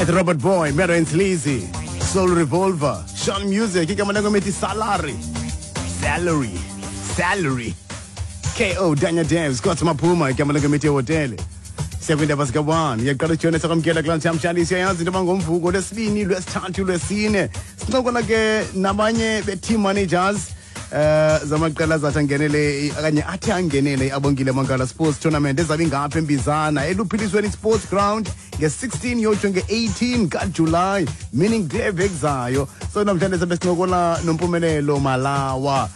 At Robert Boy, Mero and Sleazy, Soul Revolver, Sean Music, igama lengomethi Salary, Salary, Salary. KO Daniel Dave, Scott Maphuma, igama lengomethi Hotele. Siyakwindaba zika-1 iyaqala ujone sakwamkela kulaa ntshamshani. Siyayazi into yoba ngomvuko, lwesibini, lwesithathu, lwesine sincokola ke nabanye be-team managers zamaqela azathi angenele okanye athi angenele i-Abongile Mankala Sports Tournament ezabe ingapha eMbizana eluphilisweni Sports Ground nge-16 yotsho nge-18 kaJulayi, meaning kule veki zayo. So namhlanje sabe sincokola noMpumelelo Malawa,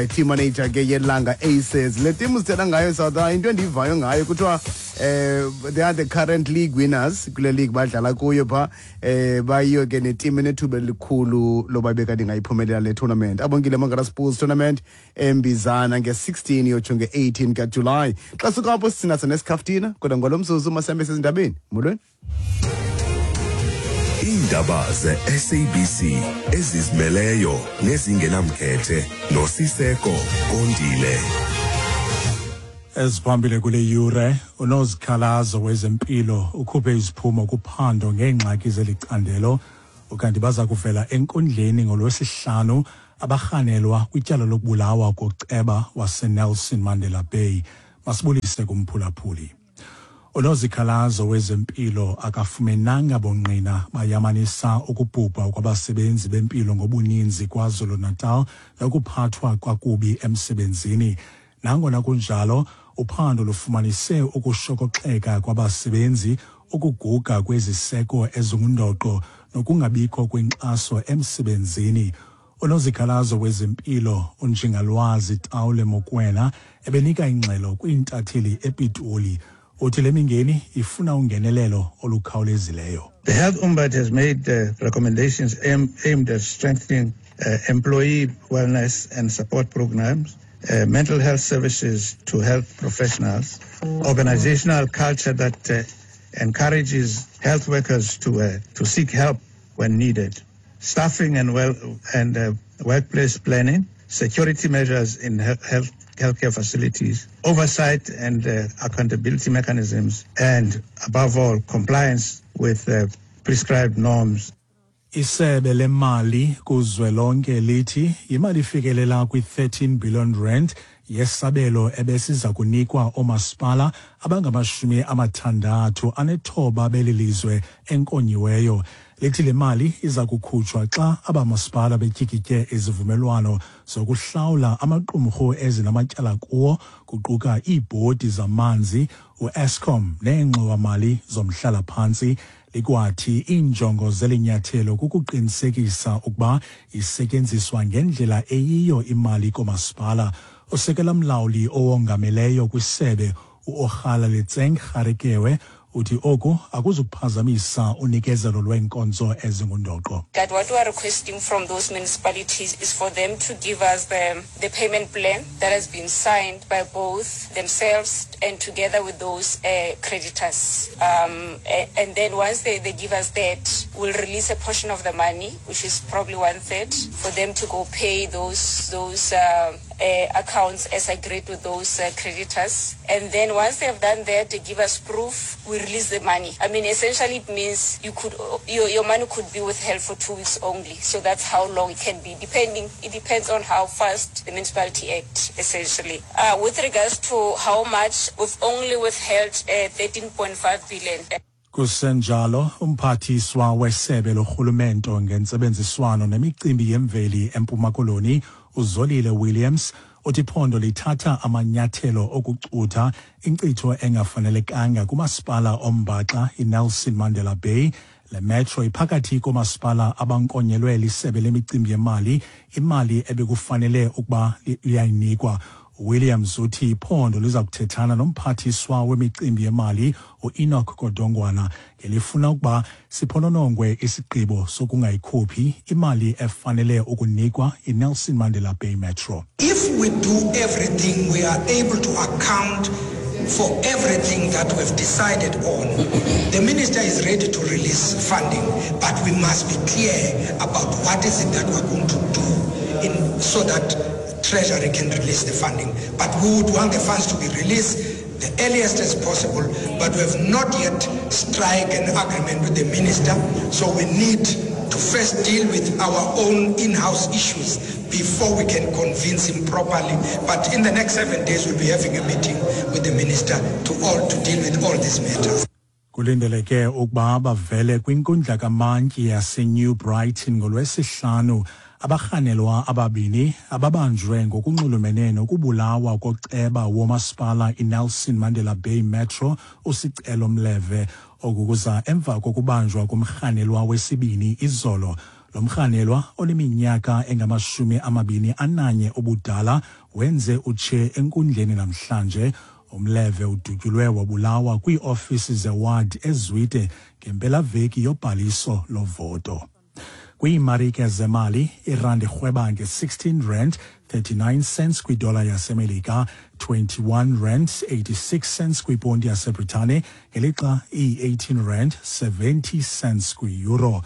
team manager ke yeLanga Aces. Le team sithetha ngayo, South, into endiyivayo ngayo kuthiwa they are the current league winners kule league badlala kuyo pha. Bayiyo ke neteam enethuba elikhulu loba bekade ingayiphumelela le tournament, Abongile Mangala Sports Tournament eMbizana nge-16 yotsho nge-18 kaJulayi. Xa suka apho sinaso nesikhaftina, kodwa ngolo mzuzu masihambe sezindabeni. Molweni. Iindaba ze-SABC ezizimeleyo nezingenamkhethe noSiseko Kondile. Eziphambili kule yure: unozikhalazo wezempilo ukhuphe iziphumo kuphando ngeengxaki zeli candelo, ukanti baza kuvela enkundleni ngolwesihlanu abarhanelwa kwityala lokubulawa koceba waseNelson Mandela Bay. Masibulise kumphulaphuli. Unozikhalazo wezempilo akafumenanga bungqina bayamanisa ukubhubha kwabasebenzi bempilo ngobuninzi KwaZulu-Natal nokuphathwa kwakubi emsebenzini. Nangona kunjalo, uphando lufumanise ukushokoxeka kwabasebenzi, ukuguga kweziseko ezingundoqo nokungabikho kwenkxaso emsebenzini. Unozikhalazo wezempilo uNjingalwazi Tawule Mokwena ebenika ingxelo kwiintatheli ePitoli. Uthi le mingeni ifuna ungenelelo olukhawulezileyo. The Health Ombud has made recommendations aimed at strengthening employee wellness and support programs, mental health services to health professionals, organizational culture that encourages health workers to seek help when needed, staffing and well and workplace planning, security measures in healthcare facilities, oversight and accountability mechanisms, and above all, compliance with prescribed norms. Isebe lemali kuzwelonke lithi imali ifikelela kwi-13 billion rand yesabelo ebesiza kunikwa oomasipala abangama-69 beli lizwe enkonyiweyo. Lithi le mali iza kukhutshwa xa abamasipala betyikitye izivumelwano zokuhlawula amaqumrhu ezinamatyala kuwo, kuquka iibhodi zamanzi, uEskom neengxowamali zomhlalaphantsi. Likwathi iinjongo zeli nyathelo kukuqinisekisa ukuba isetyenziswa ngendlela eyiyo imali koomasipala. Usekela mlawuli owongameleyo kwisebe uOgalaletseng Garekewe uthi oku akuzukuphazamisa unikezelo lweenkonzo ezingundoqo. That what we are requesting from those municipalities is for them to give us the payment plan that has been signed by both themselves and together with those creditors. And then once they give us that, we'll release a portion of the money, which is probably one third, for them to go pay those accounts as agreed with those creditors. And then once they have done that, they give us proof, we release the money. I mean, essentially it means your money could be withheld for 2 weeks only. So that's how long it can be, depending, it depends on how fast the municipality act, essentially. With regards to how much, we've only withheld 13.5 billion. Kusenjalo, umphathiswa wesebe lorhulumento ngentsebenziswano nemicimbi yemveli eMpuma Koloni uZolile Williams uthi iphondo lithatha amanyathelo okucutha inkcitho engafanelekanga kumasipala ombaxa iNelson Mandela Bay. Le metro iphakathi komasipala abankonyelwe lisebe lemicimbi yemali imali ebekufanele ukuba liyayinikwa. Williams uthi iphondo liza kuthethana nomphathiswa wemicimbi yemali uEnoch Godongwana ngelifuna ukuba siphononongwe isigqibo sokungayikhuphi imali efanele ukunikwa iNelson Mandela Bay Metro. If we do everything, we are able to account for everything that we've decided on. The minister is ready to release funding, but we must be clear about what is it that we're going to do so that Treasury can release the funding. But we would want the funds to be released. the earliest as possible, but we have not yet strike an agreement with the minister, so we need to first deal with our own in-house issues before we can convince him properly. But in the next 7 days, we'll be having a meeting with the minister to all to deal with all these matters. Kulindeleke ukuba bavele kwinkundla kamantyi yaseNew Brighton ngolwesihlanu abarhanelwa ababini ababanjwe ngokunxulumene nokubulawa koceba womasipala iNelson Mandela Bay Metro uSicelo Mleve. Oku kuza emva kokubanjwa komrhanelwa wesibini izolo. Lo mrhanelwa oneminyaka engama-21 ubudala wenze utshe enkundleni namhlanje. Umleve udutyulwe wabulawa kwiiofisi zeward eZwide ngempelaveki yobhaliso lovoto. Kwiimarike zemali, irandi irhweba nge-16 rand 39 cents kwidola yaseMelika, 21 rand 86 cents kwiponti yaseBritane, ngelixa iyi-18 rand 70 cents kwi-euro.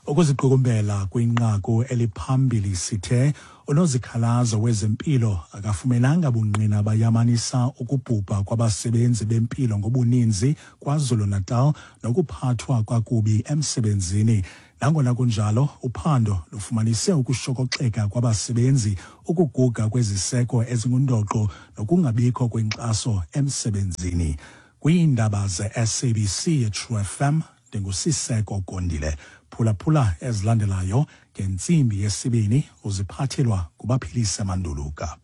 Ukuziqukumbela kwinqaku eliphambili sithe unozikhalazo wezempilo akafumenanga bungqina bayamanisa ukubhubha kwabasebenzi bempilo ngobuninzi KwaZulu-Natal nokuphathwa kwakubi emsebenzini. Nangona kunjalo, uphando lufumanise ukushokoxeka kwabasebenzi, ukuguga kweziseko ezingundoqo nokungabikho kwenkxaso emsebenzini. Kwiindaba ze-SABC True FM, ndinguSiseko Gondile. Phulaphula ezilandelayo ngentsimbi yesibini uziphathelwa nguBaphilise Manduluka.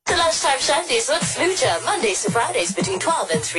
The Lunchtime Shandies with Fluja, Mondays to Fridays between 12 and 3.